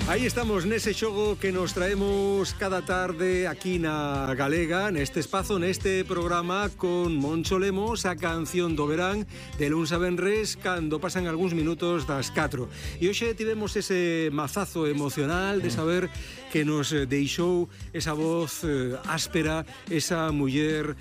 Aí estamos nese xogo que nos traemos cada tarde aquí na Galega, neste espazo, neste programa con Moncho Lemos, a canción do verán de luns a venres cando pasan algúns minutos das 4. E hoxe tivemos ese mazazo emocional de saber que nos deixou esa voz áspera, esa muller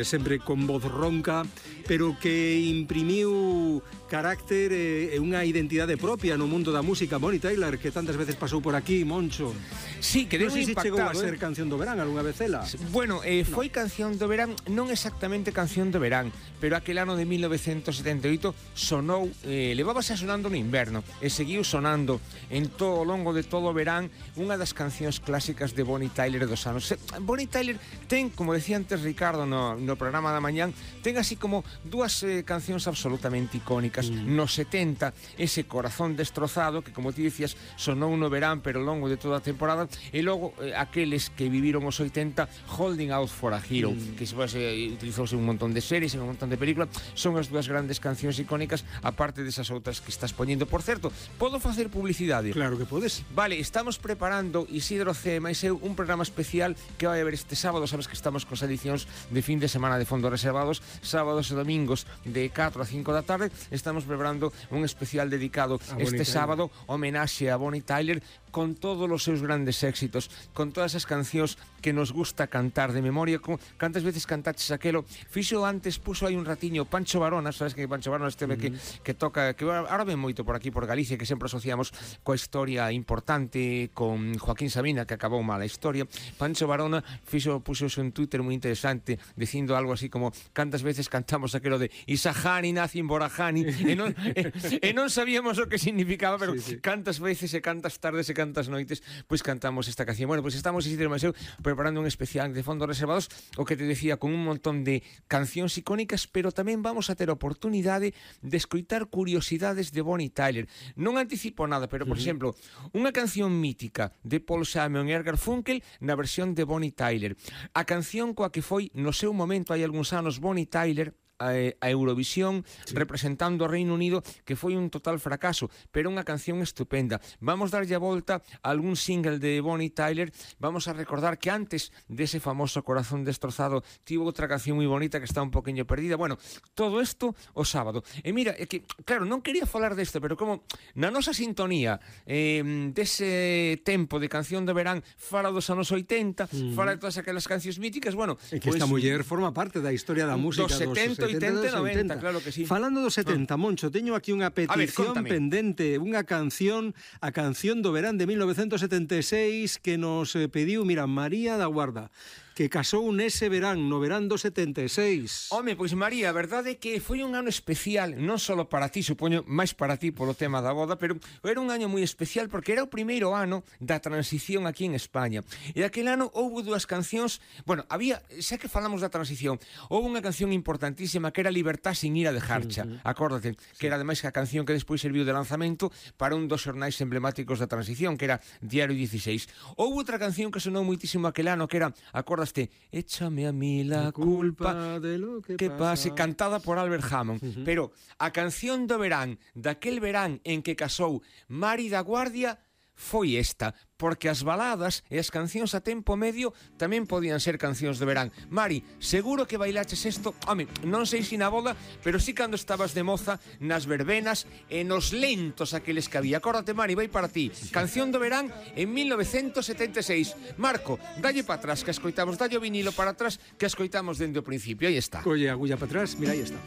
sempre con voz ronca, pero que imprimiu carácter e unha identidade propia no mundo da música. Bonnie Tyler, que tantas veces pasou por aquí, Moncho. Sí, quedou non sei se impactado. chegou a ser canción do verán algunha vez ela. Bueno, foi canción do verán, non exactamente canción do verán, pero aquel ano de 1978 sonou, levábase sonando no inverno e seguiu sonando en todo o longo de todo o verán, unha das cancións clásicas de Bonnie Tyler dos anos. Bonnie Tyler ten, como decía antes Ricardo no programa da mañán, ten así como dúas cancións absolutamente icónicas. No 70, ese Corazón destrozado, que como ti dicías, sonou no verán, pero ao longo de toda a temporada, e logo aqueles que viviron os 80, Holding Out for a Hero, que se utilizouse un montón de series, en un montón de películas, son as dúas grandes cancións icónicas, aparte desas outras que estás poñendo. Por certo, podo facer publicidade? Claro que podes. Vale, estamos preparando Isidro C. máis eu un programa especial que vai haber este sábado. Sabes que estamos cos edicións de fin de semana de fondos reservados, sábados e domingos de 4 a 5 da tarde. Estamos preparando un especial dedicado este sábado, homenaxe a Bonnie Tyler, con todos os seus grandes éxitos, con todas as cancións que nos gusta cantar de memoria. Cantas veces cantaches aquelo? Fixo antes, puso aí un ratiño Pancho Varona, sabes que Pancho Varona este que toca, que ahora ven moito por aquí por Galicia, que sempre asociamos coa historia importante con Joaquín Sabina, que acabou mal a historia. Pancho Varona puxo un Twitter moi interesante dicindo algo así como: cantas veces cantamos aquelo de Isahani Nacin Borahani, e non sabíamos o que significaba, pero sí. Cantas veces e cantas tardes e cantas noites pois cantamos esta canción. Bueno, pois estamos Isidro Maseu preparando un especial de fondos reservados, o que te decía, con un montón de cancións icónicas, pero tamén vamos a ter oportunidade de escoitar curiosidades de Bonnie Tyler. Non anticipo nada, pero por exemplo, unha canción mítica de Paul Simon e Edgar Funkel na versión de Bonnie Tyler. A canción coa que foi no seu momento hai algúns anos Bonnie Tyler a Eurovisión, sí, representando o Reino Unido, que foi un total fracaso, pero unha canción estupenda. Vamos darlle a volta a algún single de Bonnie Tyler. Vamos a recordar que antes dese famoso Corazón destrozado tivo outra canción moi bonita que está un poquinho perdida. Bueno, todo isto o sábado. E mira, é que, claro, non quería falar desto, pero como na nosa sintonía dese tempo de canción de verán fala dos anos 80, fala de todas aquelas cancións míticas, bueno, é que esta muller forma parte da historia da música dos 70, 80 e 90, claro que sí. Falando dos 70, Moncho, teño aquí unha petición pendente, unha canción, a canción do verán de 1976 que nos pediu, mira, María da Guarda, que casou nese verán, no verán do 76. Home, pois María, a verdade é que foi un ano especial, non só para ti, supoño, máis para ti polo tema da boda, pero era un ano moi especial porque era o primeiro ano da transición aquí en España. E aquel ano houve dúas cancións, bueno, había, xa que falamos da transición, houve unha canción importantísima que era Libertad sin ir a dejarcha, acórdate, que era ademais a canción que despois serviu de lanzamento para un dos xornais emblemáticos da transición, que era Diario 16. Houve outra canción que sonou moitísimo aquel ano, que era, acórdate, Échame a mí la culpa de lo que pase, cantada por Albert Hammond. Pero a canción do verán, daquel verán en que casou Mari da Guardia, foi esta, porque as baladas e as cancións a tempo medio tamén podían ser cancións de verán. Mari, seguro que bailaches isto, home, non sei se na boda, pero sí cando estabas de moza nas verbenas e nos lentos aqueles que había. Acórdate, Mari, vai para ti. Canción do verán en 1976. Marco, dalle para atrás que escoitamos, dalle o vinilo para atrás que escoitamos dende o principio. Aí está. Colle agulla para atrás, mira, aí está.